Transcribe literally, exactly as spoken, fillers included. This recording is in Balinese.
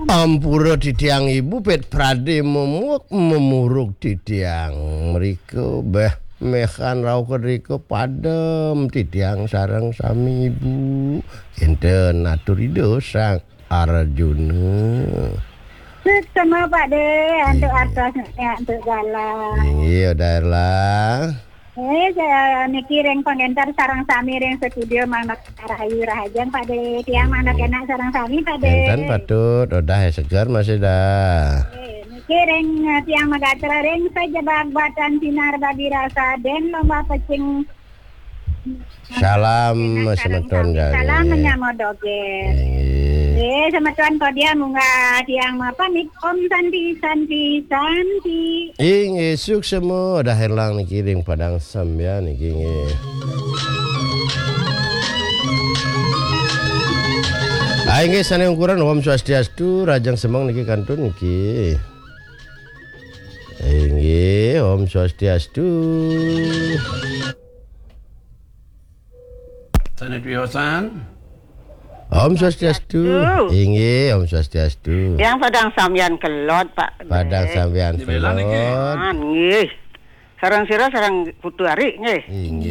Ampura titiang ibu, pét pradé memuek memuruk titiang. Mrika béh méhan rauh kedrika padem titiang sareng sami ibu. Kénten atur Ida Sang Arjuna. Suksma Pak Dé, antuk artosné, antuk galah. Inggih, Odah Erlang. Eh, saya niki ring pangénter sareng sami ring studio, mangda rahayu rahajeng Pak Dé. Tiang mangda kénak sareng sami Pak Dé. Kénten patut, Odah seger masih dah. Eh, niki ring, eh, tiang magatra ring sajebag batan sinar bagi rasa den lomba pecing. Salam semeton kali. Salam menyambut dogén. Inggih. Eh, semeton kodia munggah tiang mapamit. Om Santi, Santi, Santi. Inggih, suksma, Odah Erlang niki ring Padang Sambian niki nggih. Ah, inggih sané ungkuran Om Swastiastu, rahajeng semeng niki kantun niki. Inggih, Om Swastiastu. Sané tiosan. Om Swastiastu. Swastiastu. Inggih, Om Swastiastu. Yang Padang Sambian Kelod, Pak. Padang Sambian Kelod. Ah, nggih. Sareng sira, sareng Putu Ari, nggih. Inggih.